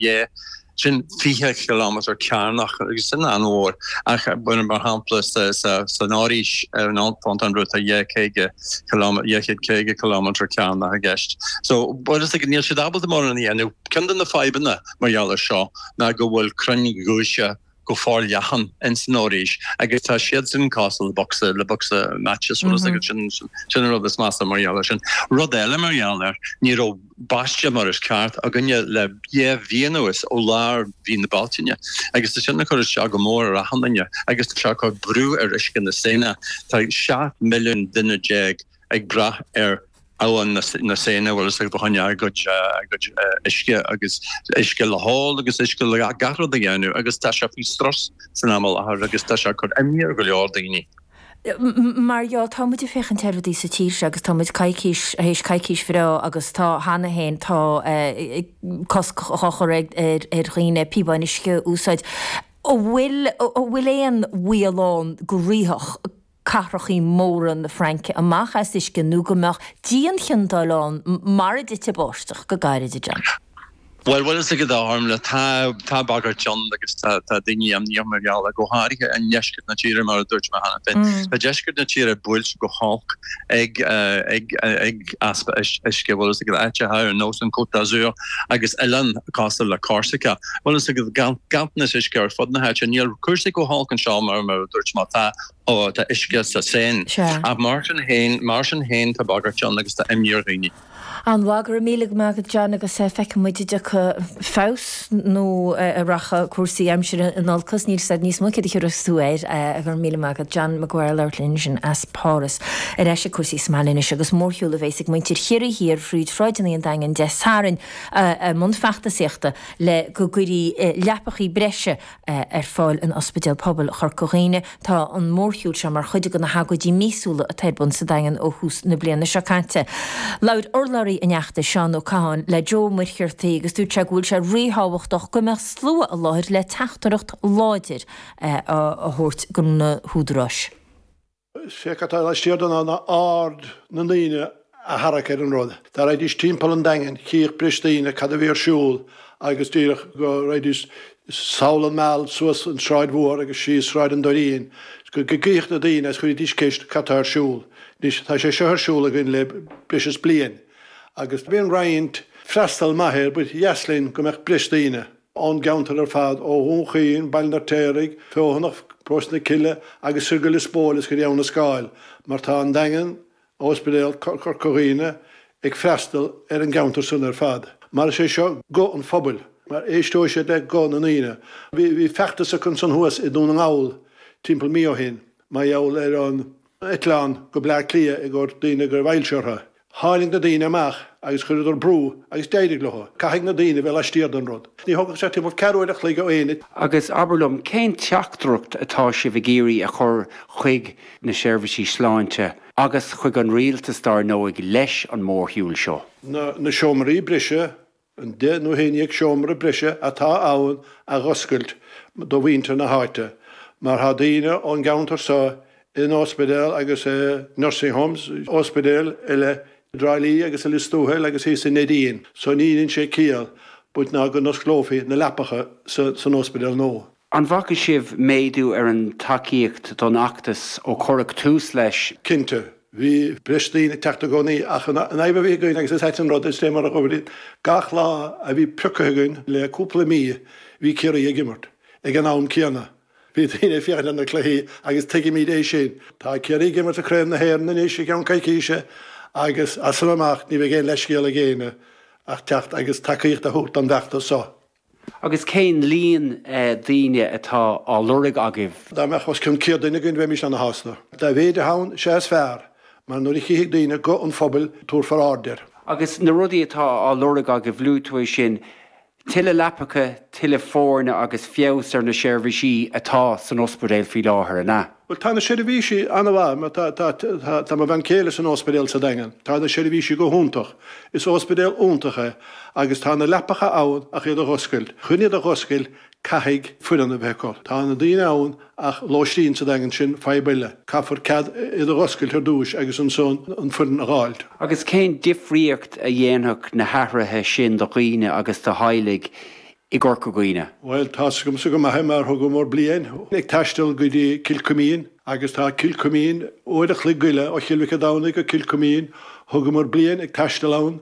Yeah, sin 20 chileámeter cearnach agus sin an-mhór ach mar shampla san fhoraois ar an Fontainebleau tá 250 cileámeter cearnach i gceist. So bhuel is níl siad ábalta mórán a dhéanamh. Ceann de na fadhbanna mar gheall ar seo ná go bhfuil crainn ghiúise go forleathan ins an fhoraois agus tá siad sin cosúil le bocsa le bocsa matches bhfuil a fhios agat sin sin an rud is measa mar gheall air sin. Rud eile mar gheall air ní raibh báisteach mar is ceart againne le dhá mhí anuas ó lár mhí na Bealtaine agus tá sin ag cur isteach go mór ar achan duine agus tá sé ag cur brú ar uisce na Seine. Tá 17 milliún duine ag brath ar abhainn na Seine bhfuil a fhios agat fá choinne a gcuid uisce agus uisce le hól agus uisce le gach rud a dhéanamh agus tá sé faoi strus san am i láthair agus tá sé ag cur imní ar go leor daoine. Mar gheall, tá muid ag féachaint ar rudaí sa tír seo agus tá muid coicís, théis coicís bhreá agus tá cheana féin, tá cosc á chur ar dhaoine píobáin uisce a úsáid. An bhfuil, an bhfuil aon bhaol ann go rithfeadh cathrachaí móra na Fraince amach as uisce nó go mbeadh dianchiondáil ann mara dtite báisteach go gairid, a John? Bhuel, bhfuil a fhios agat a Ormla, tá, tá bagairt ann agus tá, tá daoine imníoch mar gheall air, go háirithe i ndeisceart na tíre, mar a dúirt mé cheana féin. Tá deisceart na tíre buailte go holc ag, ag, ag easpa uisce, bhfuil a fhios agat, áiteacha ar nós an Côte d'Azur agus oileáin cosúil le Corsica. Bhfuil a fhios agat, ganntanas uisce ar fud na háite. Níl cúrsaí chomh holc anseo mar, mar a dúirt mé, tá, tá uisce sa Seine. Ach mar sin féin, mar sin féin tá bagairt ann agus tá imní ar dhaoine. An-mhaith, go raibh míle maith agat John agus feicfidh muid an dtiocfaidh feabhas nó an rachaidh cúrsaí aimsire in olcas, níl 'fhios a'd níos mó céard a thiúrfas tú air. Go raibh míle maith agat John Maguire ag labhairt linn ansin as Páras. Ar ais ag cúrsaí sa mbaile anois agus mórshiúl a bheas ag muintir Chiarraí Thiar fríd shráideanna an Daingin Dé Sathairn i mbun feachtasaíochta le go gcuirfí leapachaí breise ar fáil in Ospidéal Pobail Chorca Dhuibhne. Tá an mórshiúl seo mar chuid de na hagóidí míosúla atá ar bun sa Daingean ó thús na bliana seo caite. Labhair urlabhraí an fheachtais, Seán Ó Catháin, le Joe Ó Muircheartaigh agus dúirt sé go bhfuil sé ríthábhachtach go mbeadh slua i láthair le teachtaireacht láidir a thabhairt do na húdaráis. Sé cad tá laistiar de ná aird na ndaoine a tharrac ar an rud. Dá raghaidís timpeall an Daingin, chífeadh breis daoine cad a bhí ar siúl agus díreach go raghaidís sall an Meal suas an tSráid Mhór agus síos Sráid an Doirín, go gcífeadh na daoine agus chuirfidís ceist cad tá ar siúl. Anois, tá sé seo ar siúl againn le breis is bliain agus bíonn roinnt freastal maith air, ba dheas linn go mbeadh breis daoine. ón gceantar ar fad, ó Dhún Chaoin, Baile an Fheirtéaraigh, Feothanach, Paróiste na Cille agus soir go Lios Póil is go dtí Abha na Scáil, mar tá an Daingean, Ospidéal Chorca Dhuibhne, ag freastal ar an gceantar san ar fad. Mar is é seo guth an phobail, mar éisteoidh siad le guth na ndaoine. Bhí feachtas acu ansan thuas i nDún na nGall timpeall mí ó shin, mar gheall ar an eitleán go Bleá Cliath i gcomhair daoine go raibh ailse orthu. Tháinig na daoine amach agus chuireadar brú agus d'éirigh leo. Caithfidh na daoine bheith laistiar den rud. Ní thógfadh sé timpeall ceathrú uair a chloig ó éinne. Agus abair liom, cén teachtaireacht atá sibh ag iarraidh a chur chuig na seirbhísí sláinte agus chuig an rialtas dár ndóigh leis an mórshiúl seo? Na seomraí breise An 10 nó 11 seomra breise atá ann a dh'oscailt do mhuintir na háite, mar tá daoine ón gceantar so in ospidéal agus i nursing homes, ospidéil eile i dTrá Lí agus i Lios Tuathail agus thíos i Neidín, so ní dhein sé ciall but ná go n-osclófaí na leapacha san ospidéal nua. An bhfaca sibh méadú ar an tacaíocht don fheachtas ó cuireadh tús leis? Cinnte. Bhí breis daoine ag teacht i gcónaí ach an fhadhb a bhí againn, agus is ait an rud, is é mar a dhúirt, gach lá a bhí pioctha againn le cúpla mí bhí Ciarraí ag imirt ag an am céanna. Bhí daoine ag féachaint ar na cluichí agus tuigimid é sin. Tá Ciarraí ag imirt i Craobh na hÉireann anois i gceann coicíse agus as san amach ní bheidh aon leithscéal ag éinne ach teacht agus tacaíocht a thabhairt don bhfeachtas seo. Agus cén líon daoine atá á lorg agaibh? Dá mbeadh os cionn 100 duine againn bheimis ana-shásta. Dá mhéid atá ann, is ea is fearr, mar nuair a chífidh daoine guth an phobail, tabharfar aird air. Agus na rudaí atá á lorg agaibh, luaigh tú é sin, tuilleadh leapacha, tuilleadh foirne agus feabhas ar na seirbhísí atá san ospidéal faoi láthair, an ea? Bhuel, tá na seirbhísí an-mhaith. Mar tá, tá, tá, tá mo bhean chéile san ospidéal sa Daingean. Tá na seirbhísí go hiontach. Is ospidéal iontach é agus tá na leapacha ann ach iad a dh'oscailt. Chun iad a dh'oscailt caithfidh foireann a bheith acu. Tá na daoine ann ach lóistín sa Daingean sin fadhb eile. Caithfear cead iad a dh'oscailt ar dtúis agus ansan an foireann a dh'fháilt. Agus cén difríocht a dhéanfadh na hathruithe sin do dhaoine agus do theaghlaigh? i gCorca Dhuibhne? Bhuel, tá's agamsa go maith é mar thugamar bliain ag taisteal go dtí Cill Chuimín agus tá Cill Chuimín uair a chloig go leith ó Chill Mhic a' Domhnaigh go Cill Chuimín. Thugamar bliain ag taisteal ann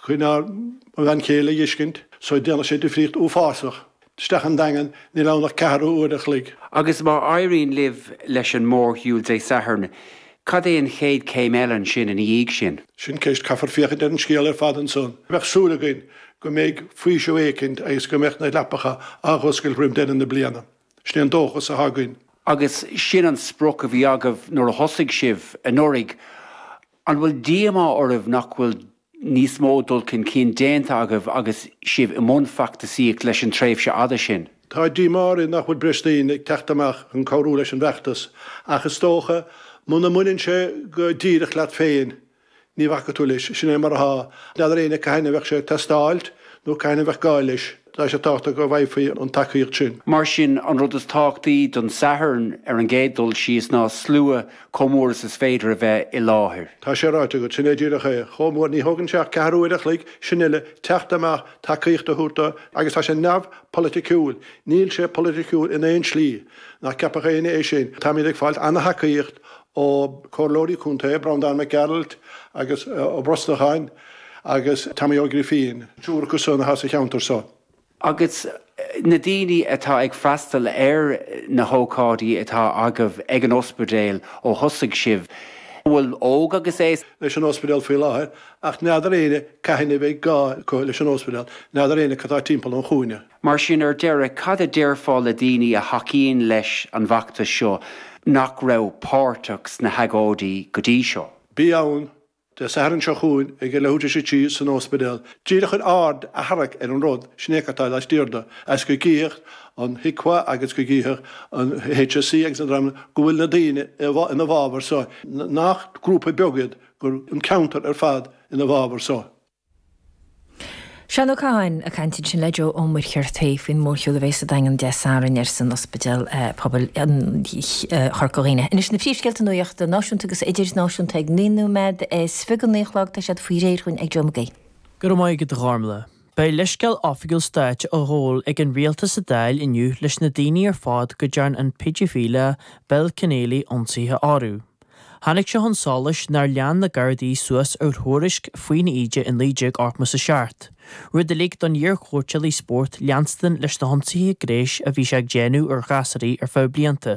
chun ár mo bhean chéile a dh'fheiscint so déanfaidh sé difríocht uafásach. Isteach an Daingean, níl ann ach ceathrú uair a chloig. Agus má éiríonn libh leis an mórshiúl Dé Sathairn, cad é an chéad chéim eile ansin ina dhiaidh sin? Sin ceist, caithfear féachaint ar an scéal ar fad ansan. Bheadh súil againn go mbeidh faoiseamh éicint agus go mbeadh na leapacha á dh'oscailt roim deireadh na bliana. Sin é an dóchas atá againn. Agus sin an sprioc a bhí agaibh nuair a thosaigh sibh anuraidh. An bhfuil díomá oraibh nach bhfuil níos mó dul chun cinn déanta agaibh agus sibh i mbun feachtasaíocht leis an tréimhse fhada sin? Tá díomá orainn nach bhfuil breis daoine ag teacht amach chun cabhrú leis an bhfeachtas ach is dócha muna mbaineann sé go díreach leat féin ní bhacfaidh tú leis. Sin é mar atá. N'fheadar éinne cathain a bheadh sé ag teastáilt nó cathain a bheadh gá leis. Tá sé tábhachtach go bhfaighfí an tacaíocht sin. Mar sin, an rud is tábhachtaí don Satharn ar an gcéad dul síos ná slua chomh mór is is féidir a bheith i láthair. Tá sé ráite agat, sin é díreach é. Chomh mór, ní thógann sé ach ceathrú uair a chloig, sin uile, teacht amach, tacaíocht a thabhairt do, agus tá sé neamhpholaiticiúil, níl sé polaiticiúil in aon slí, ná ceapfadh éinne é sin. Táimid ag fáilt ana-thacaíocht ó chomhairleoirí contae, Breandán Mac Gearailt agus Ó Brosnacháin agus Tommy Ó Grifín, triúr acu san atá sa cheantar so. Agus na daoine atá ag freastal ar na hócáidí atá agaibh ag an ospidéal ó thosaigh sibh, an bhfuil óg agus aos? leis an ospidéal faoi láthair ach n'fheadar éinne cathain a bheidh gá acu leis an ospidéal, n'fheadar éinne cad tá timpeall an chúinne. Mar sin, ar deireadh, cad a déarfá le daoine a thacaíonn leis an bhfeachtas seo nach raibh páirteach sna hagóidí go dtí seo? Bí ann Dé Sathairn seo chugainn ag a leathuair tar éis a 3 san ospidéal, díreach chun aird a tharrac ar an rud, sin é cad tá laistiar de, agus go gcífeadh an HIQA agus go gcífeadh an HSE agus an dream go bhfuil na daoine ina bhfabhar so, nach grúpa beag iad, gur an ceantar ar fad ina bhfabhar so. Seán Ó Catháin ag caint ansin le Joe Ó Muircheartaigh faoin mórshiúl a bheidh sa Daingean Dé Sathairn ar son Ospidéal Pobail Chorca Dhuibhne. Anois na príomhscéalta nuachta náisiúnta agus idirnáisiúnta ag 9 nóiméad is 29 go 9 a chlog tá siad faoi réir dhúinn ag Joe Mag Aoidh. Go raibh maith agat a Ghormlaith. Beidh leithscéal oifigiúil stáit á ghabháil ag an rialtas sa Dáil inniu leis na daoine ar fad go dtearn an péidifileach Bill Kenneally ionsaithe orthu. Tháinig sé chun solais nár lean na Gardaí suas ar thuairisc faoina íde i 1987, rud a lig don iar-chóitseálaí spóirt leanstan leis na hionsaithe gnéis a bhí sé ag déanamh ar ghasúraí ar feadh blianta.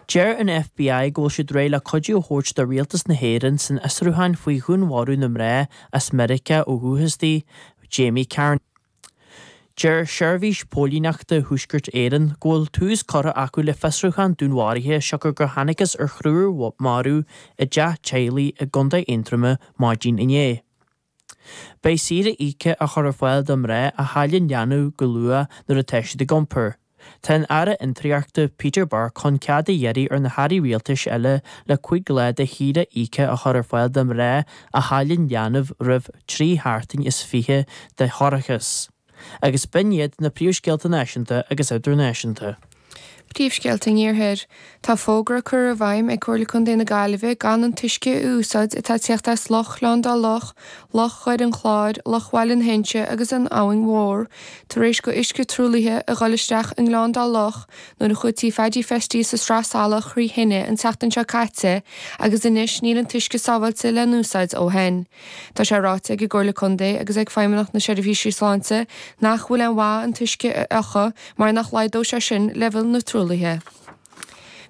Deir an FBI go bhfuil siad réidh le cuidiú a thabhairt do rialtas na hÉireann san fhiosrúchán faoi dhúnmharú na mná as Meiriceá ó dhúchas di, Jamie Carney. Deir Seirbhís Póilíneachta Thuaisceart Éireann go bhfuil tús curtha acu le fiosrúchán dúnmharaithe siocair gur thángthas ar thriúr marbh i dteach teaghlaigh i gContae Aontroma maidin inné. Beidh saoire íoctha á chur ar fáil do mhná a chailleann leanbh go luath nuair atá siad ag iompar. Tá an Aire Fhiontraíochta Peter Burke chun cead a iarraidh ar na hairí rialtais eile le 5 lá de shaoire íoctha a chur ar fáil do mhná a chailleann leanbh roimh 3 sheachtain is 20 de thoircheas. Agus b'in iad na príomhscéalta náisiúnta agus idirnáisiúnta. Príomhscéalta an Iarthair. Tá fógra curtha i bhfeidhm ag Comhairle Contae na Gaillimhe gan an t-uisce a úsáid atá ag tíocht as Loch Ghleann Dá Loch, Loch Dhoire an Chláir, Loch Bhaile na hInse agus an Abhainn Mhór, tar éis go uisce truaillithe a dhul isteach i nGleann Dá Loch nuair a chuaigh Tí Phaidí Festy sa Sraith Salach thrí thine an tseachtain seo caite agus anois níl an t-uisce sábháilte le n-úsáid ó shin. Tá sé ráite ag an gComhairle Contae agus ag Feidhmeannacht na Seirbhísí Sláinte nach bhfuil aon mhaith an t-uisce a fhiuchadh mar nach laghdódh sé sin leibhéal na truaillithe.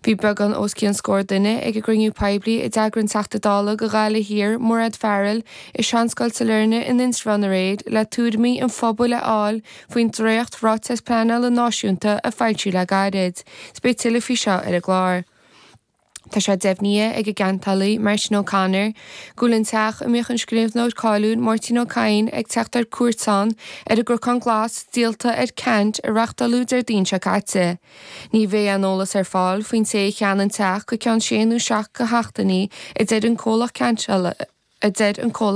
Bhí beagán os cionn scór duine ag an gcruinniú poiblí a d'eagraigh an Teachta Dála do Ghaillimh Thiar, Mairéad Farrell, i Seanscoil Sailearna in Indreabhán aréir le tuairimí an phobail a fháil faoin dréacht Ráiteas Pleanála Náisiúnta a foilsíodh le gairid. 'S beidh tuilleadh faoi seo ar an gclár. Tá sé deimhnithe ag an gceantálaí, Martin O'Connor, go bhfuil an teach a mbíodh an scríbhneoir cáiliúil Máirtín Ó Cadhain ag teacht ar cuairt ann ar an gCnocán Glas díolta ar ceant a reáchtáladh Déardaoin seo caite. Ní bheidh aon eolas ar fáil faoin té a cheannaigh an teach go ceann sé nó seacht de sheachtainí, a deir an comhlacht ceantála.